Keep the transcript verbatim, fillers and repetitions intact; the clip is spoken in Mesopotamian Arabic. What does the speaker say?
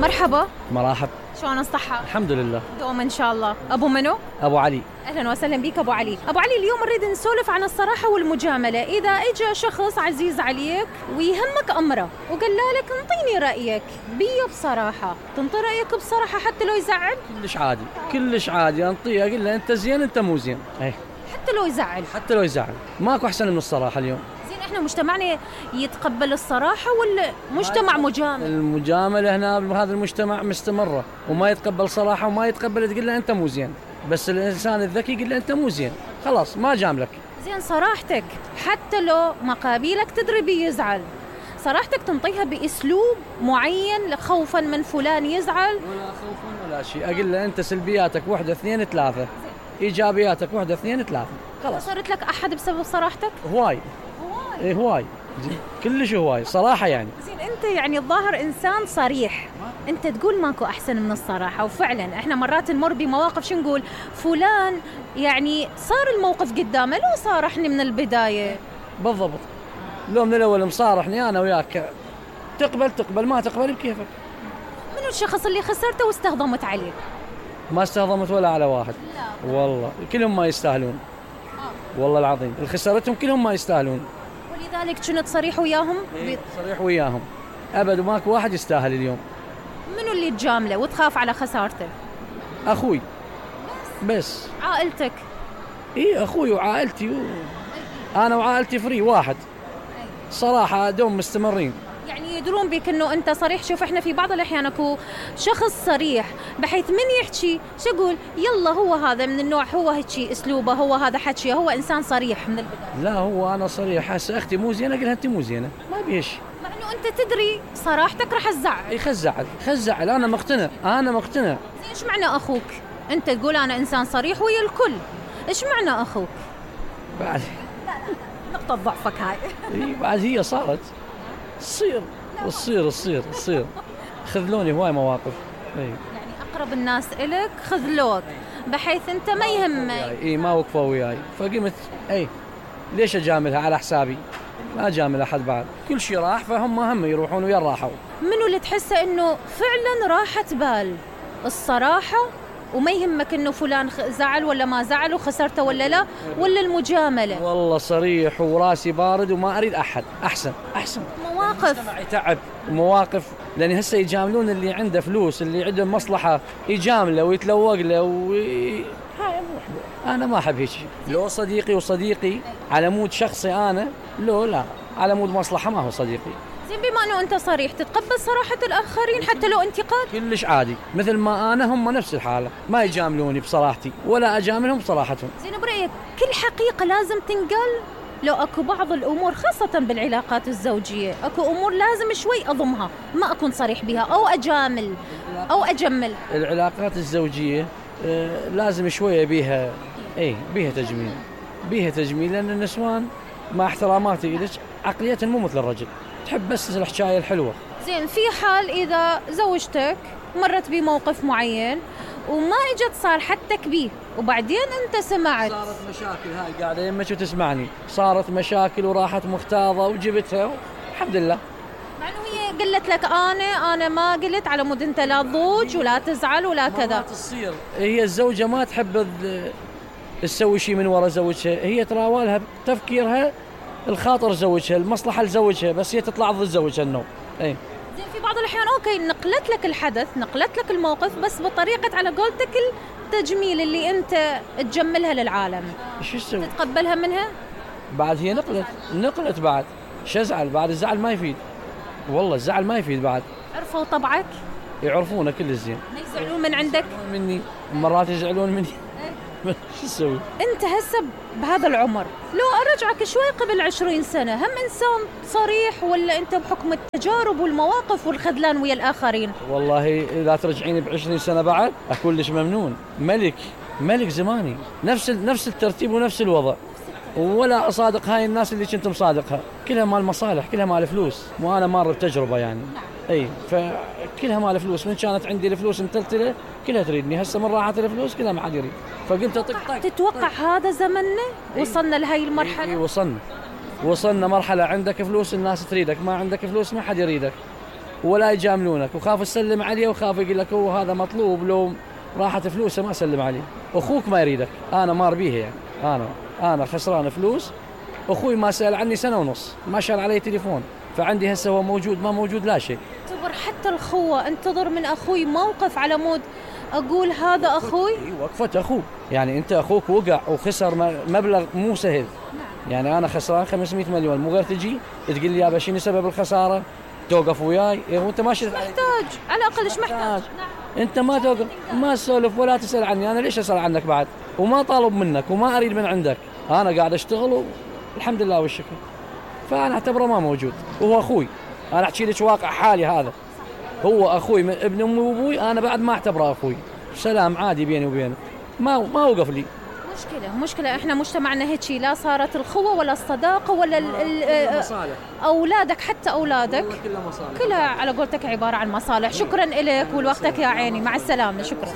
مرحبا. مرحب. شلون الصحة؟ الحمد لله. دوم إن شاء الله. أبو منو؟ أبو علي. أهلا وسهلا بك أبو علي. أبو علي، اليوم نريد نسولف عن الصراحة والمجاملة. إذا إجا شخص عزيز عليك ويهمك أمره وقال لك انطيني رأيك بيه بصراحة، تنطي رأيك بصراحة حتى لو يزعل؟ كلش عادي، كلش عادي أنطيه، أقول له أنت زين أنت مو زين. أي. حتى لو يزعل؟ حتى لو يزعل، ماكو أحسن من الصراحة اليوم. احنا مجتمعنا يتقبل الصراحة ولا مجتمع مجامل؟ المجاملة هنا بهذا المجتمع مستمرة، وما يتقبل صراحة وما يتقبل تقول له أنت مو زين، بس الإنسان الذكي يقول له أنت مو زين، خلاص ما جاملك. زين، صراحتك حتى لو مقابلك تدري بيزعل، صراحتك تنطيها بأسلوب معين خوفا من فلان يزعل؟ ولا خوفا ولا شيء، أقول له أنت سلبياتك واحدة اثنين ثلاثة، إيجابياتك واحدة اثنين ثلاثة، خلاص. صارت لك أحد بسبب صراحتك؟ هواي. إيه هواي، كلش هواي صراحة يعني. زين، أنت يعني الظاهر إنسان صريح، أنت تقول ماكو أحسن من الصراحة، وفعلا إحنا مرات نمر بمواقف شو نقول فلان يعني صار الموقف قدامه لو صارحني من البداية. بالضبط، لو من الأول مصارحني أنا وياك تقبل تقبل، ما تقبل بكيفك. منو الشخص اللي خسرته واستهضمت عليه؟ ما استهضمت ولا على واحد. لا. والله كلهم ما يستاهلون. آه. والله العظيم اللي خسرتهم كلهم ما يستاهلون، ولذلك كنت صريح وياهم؟ إيه صريح وياهم أبد، وماكو واحد يستاهل اليوم. منو اللي تجامله وتخاف على خسارته؟ أخوي بس. بس عائلتك؟ إيه أخوي وعائلتي و... أنا وعائلتي فري واحد صراحة، دوم مستمرين. يعني يدرون بك انه انت صريح. شوف، احنا في بعض الاحيان اكو شخص صريح بحيث من يحكي شو اقول يلا هو هذا من النوع، هو هيك اسلوبه، هو هذا حكي، هو انسان صريح من البدايه. لا هو انا صريح، هسه اختي مو زينه اقول لها انت مو زينه، ما بيش، مع انه انت تدري صراحتك راح تزعل. اي خزعل خزعل، انا مقتنع انا مقتنع. زين، ايش معنى اخوك؟ انت تقول انا انسان صريح ويا الكل، ايش معنى اخوك؟ بعد لا لا نقطه ضعفك هاي. اي بعد هي صارت تصير تصير تصير تصير خذلوني هواي مواقف. اي يعني اقرب الناس الك خذلوك بحيث انت ما يهمك. اي ما وقفوا وياي، فقمت اي ليش اجاملها على حسابي؟ ما اجامل احد بعد، كل شيء راح فهم هم يروحون ويا راحوا. منو اللي تحسه انه فعلا راحة بال الصراحة وما يهمك انه فلان زعل ولا ما زعل وخسرته ولا لا، ولا المجاملة؟ والله صريح وراسي بارد وما اريد احد، احسن احسن. مواقف يتعب مواقف، لان هسه يجاملون اللي عنده فلوس، اللي عنده مصلحة يجامله ويتلوق له و... هاي انا ما احب هيك. لو صديقي وصديقي على مود شخصي انا، لو لا على مود مصلحة ما هو صديقي. زين، بما انه انت صريح تتقبل صراحة الاخرين حتى لو انتقاد؟ كلش عادي، مثل ما انا هم نفس الحالة، ما يجاملوني بصراحتي ولا اجاملهم بصراحتهم. زين، برأيك كل حقيقة لازم تنقال؟ لو اكو بعض الامور خاصة بالعلاقات الزوجية اكو امور لازم شوي اضمها، ما اكون صريح بها او اجامل او اجمل. العلاقات الزوجية آه لازم شوية بيها، ايه بيها تجميل، بيها تجميل، لان النسوان مع احتراماتي لك عقليتهم مو مثل الرجل، تحب بس الحكاية الحلوة. زين، في حال إذا زوجتك مرت بموقف معين وما اجت صارحتك بيه وبعدين أنت سمعت، صارت مشاكل، هاي قاعدة يمك وتسمعني، صارت مشاكل وراحت مختاضة وجبتها الحمد لله، مع أنه هي قلت لك أنا أنا ما قلت على مود أنت لا تضوج ولا تزعل ولا كذا. ما تصير هي الزوجة ما تحب تسوي شيء من وراء زوجها، هي تراولها تفكيرها الخاطر زوجها، المصلحة لزوجها، بس هي تطلع ضد زوجها النوم. اي زين، في بعض الأحيان أوكي نقلت لك الحدث، نقلت لك الموقف، بس بطريقة على قولتك التجميل اللي أنت تجملها للعالم، شو تسوي؟ تتقبلها منها؟ بعد هي نقلت نقلت بعد شو ازعل؟ بعد الزعل ما يفيد، والله الزعل ما يفيد. بعد عرفوا طبعك؟ يعرفونه كل الزين، ما يزعلون من عندك؟ مني مرات يزعلون مني. شو تسوي؟ انت هسه بهذا العمر لو ارجعك شوي قبل عشرين سنة هم انسان صريح ولا انت بحكم التجارب والمواقف والخذلان ويا الاخرين؟ والله اذا ترجعيني بعشرين سنة بعد اكون ليش ممنون، ملك ملك زماني، نفس نفس الترتيب ونفس الوضع، ولا اصادق هاي الناس اللي كنت مصادقها، كلها مال مصالح، كلها مال فلوس، وانا مار بتجربة يعني. اي فكلها مال فلوس، من كانت عندي الفلوس متلتله كلها تريدني، هسه من راحت الفلوس كلها ما حد يريد، فقمت اطق طق. تتوقع هذا زمننا وصلنا لهي المرحله؟ اي وصلنا وصلنا مرحله عندك فلوس الناس تريدك، ما عندك فلوس ما حد يريدك. ولا يجاملونك، وخاف تسلم عليه وخاف يقول لك هو هذا مطلوب، لو راحت فلوسه ما سلم عليه. اخوك ما يريدك، انا مار بيه يعني، انا انا خسران فلوس، اخوي ما سال عني سنه ونص، ما شال علي تليفون، فعندي هسه هو موجود ما موجود لا شيء. انتظر حتى الخوة، انتظر من اخوي موقف على مود اقول هذا اخوي. وقفة اخوك، يعني انت اخوك وقع وخسر مبلغ مو سهل. نعم. يعني انا خسران خمسمئة مليون، مو غير تجي تقول لي يابا شنو سبب الخساره؟ توقف وياي إيه وانت ماشي محتاج على الاقل ايش محتاج؟ نعم. انت ما توقف ما تسولف ولا تسال عني، انا ليش اسال عنك بعد؟ وما طالب منك وما اريد من عندك، انا قاعد اشتغل والحمد لله والشكر. فانا اعتبره ما موجود، وهو اخوي، انا احكي لك واقع حالي هذا، هو اخوي من ابن امي وابوي، انا بعد ما اعتبره اخوي، سلام عادي بيني وبينه، ما ما وقف لي. مشكلة مشكلة احنا مجتمعنا هيك، لا صارت الخوة ولا الصداقة ولا ال مصالح. اولادك، حتى اولادك كلها مصالح، كلها على قولتك عبارة عن مصالح. شكرا لك ولوقتك يا عيني، مع السلامة، شكرا.